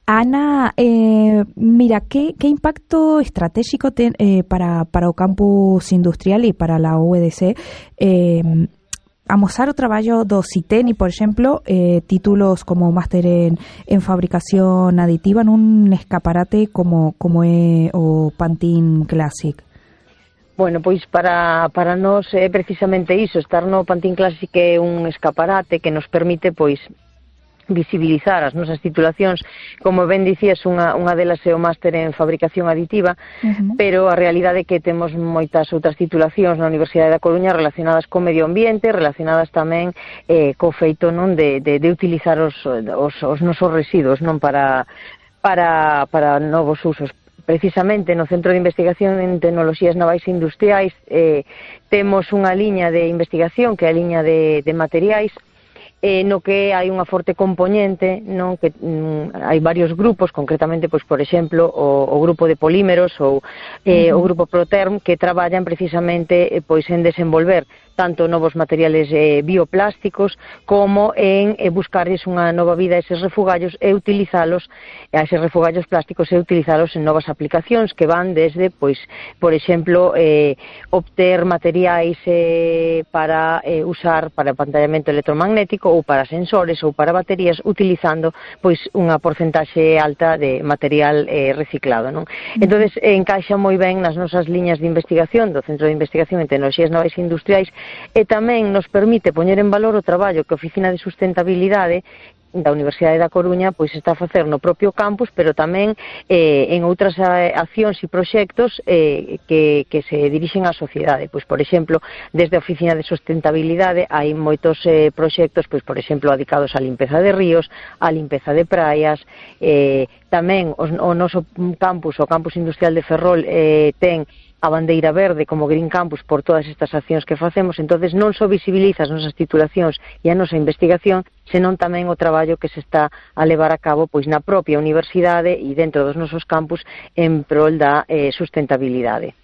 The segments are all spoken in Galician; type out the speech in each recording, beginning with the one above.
Ana, mira, ¿qué impacto estratégico para o campus industrial e para a UEDC amosar o traballo do CITENI, por exemplo, títulos como máster en fabricación aditiva nun escaparate como é o Pantene Classic? Bueno, pois para nós é precisamente iso, estar no Pantene Classic é un escaparate que nos permite, pois, visibilizar as nosas titulacións. Como ben dicías, unha delas é o máster en fabricación aditiva, pero a realidade é que temos moitas outras titulacións na Universidade da Coruña relacionadas co medio ambiente, relacionadas tamén co feito non de utilizar os nosos residuos non para novos usos. Precisamente no Centro de Investigación en Tecnoloxías Navais e Industriais temos unha liña de investigación que é a liña de materiais, no que hai unha forte componente, non, que hai varios grupos, concretamente, pois, por exemplo, o grupo de polímeros ou o grupo Proterm, que traballan precisamente pois en desenvolver tanto novos materiales bioplásticos como en buscarles unha nova vida a eses refugallos e utilizalos, a eses refugallos plásticos e utilizalos en novas aplicacións que van desde, pois, por exemplo, obter materiais para usar para pantallamento electromagnético ou para sensores ou para baterías, utilizando pois unha porcentaxe alta de material reciclado, non? Entonces encaixa moi ben nas nosas liñas de investigación do Centro de Investigación en Tecnoloxías Navais e Industriais, e tamén nos permite poñer en valor o traballo que a Oficina de Sustentabilidade da Universidade da Coruña pois está a facer no propio campus, pero tamén en outras accións e proxectos que se dirixen á sociedade. Pois, por exemplo, desde a Oficina de Sustentabilidade hai moitos proxectos, pois, por exemplo, dedicados á limpeza de ríos, á limpeza de praias, tamén o noso campus, o campus industrial de Ferrol, ten a bandeira verde como Green Campus por todas estas accións que facemos. Entonces non só visibiliza as nosas titulacións e a nosa investigación, senón tamén o traballo que se está a levar a cabo pois na propia universidade e dentro dos nosos campus en prol da sustentabilidade.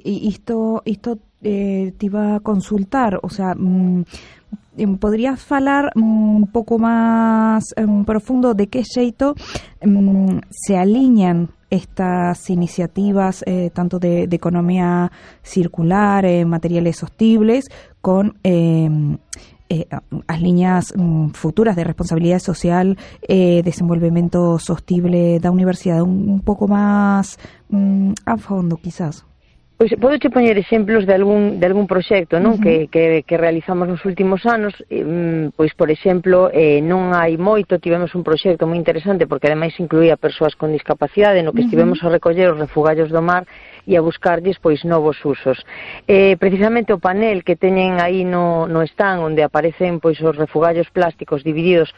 Isto te iba a consultar, o sea, ¿podrías falar un pouco máis profundo de que xeito se aliñan estas iniciativas tanto de economía circular, materiales sostibles, con as liñas futuras de responsabilidade social, desenvolvemento sostible da universidade, un pouco máis a fondo, quizás? Pois podo che poñer exemplos de algún proxecto, non, que realizamos nos últimos anos. Pois, por exemplo, non hai moito tivemos un proxecto moi interesante porque ademais incluía persoas con discapacidade, no que estivemos a recoller os refugallos do mar e a buscarlles pois novos usos. Precisamente o panel que teñen aí no stand, onde aparecen pois os refugallos plásticos divididos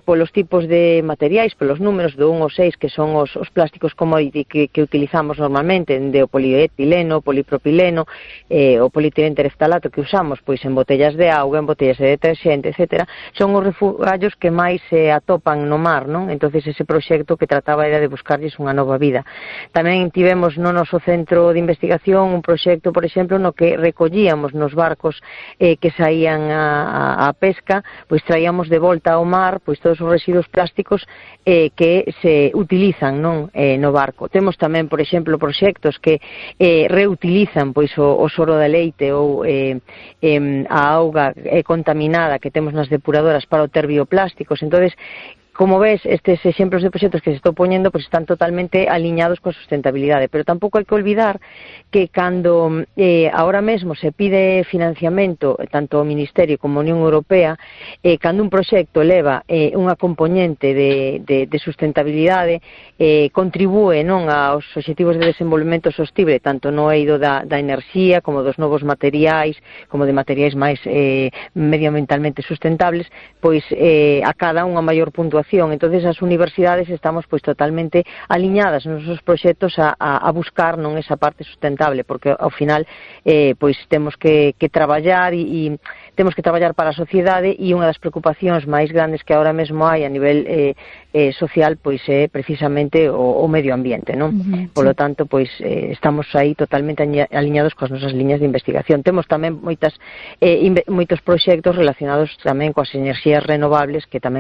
polos tipos de materiais, polos números do 1 ao 6, que son os plásticos commodity que utilizamos normalmente, de o polietileno, o polipropileno, o polietileno tereftalato que usamos pois en botellas de auga, en botellas de deterxente, etc. Son os refugallos que máis se atopan no mar, non? Entonces ese proxecto que trataba era de buscarlles unha nova vida. Tamén tivemos no noso centro de investigación un proxecto, por exemplo, no que recollíamos nos barcos que saían a pesca, pois traíamos de volta ao mar pois todos os residuos plásticos que se utilizan, non, no barco. Temos tamén, por exemplo, proxectos que reutilizan pois o soro de leite ou a auga contaminada que temos nas depuradoras para obter bioplásticos. Entonces, como ves, estes exemplos de proxectos que se estou poñendo pues, están totalmente aliñados coa sustentabilidade, pero tampouco hai que olvidar que cando ahora mesmo se pide financiamento tanto ao Ministerio como a Unión Europea, cando un proxecto leva unha componente de sustentabilidade, contribúe non aos obxectivos de desenvolvemento sostible tanto no eido da enerxía como dos novos materiais, como de materiais máis medioambientalmente sustentables, pois acada unha maior puntuación. Entonces as universidades estamos pois totalmente aliñadas nos nosos proxectos a buscar non esa parte sustentable, porque ao final pois temos que traballar e temos que traballar para a sociedade, e unha das preocupacións máis grandes que agora mesmo hai a nivel social pois é precisamente o medio ambiente, non? Polo tanto, pois estamos aí totalmente aliñados coas nosas liñas de investigación. Temos tamén moitos proxectos relacionados tamén coas enerxías renovables que tamén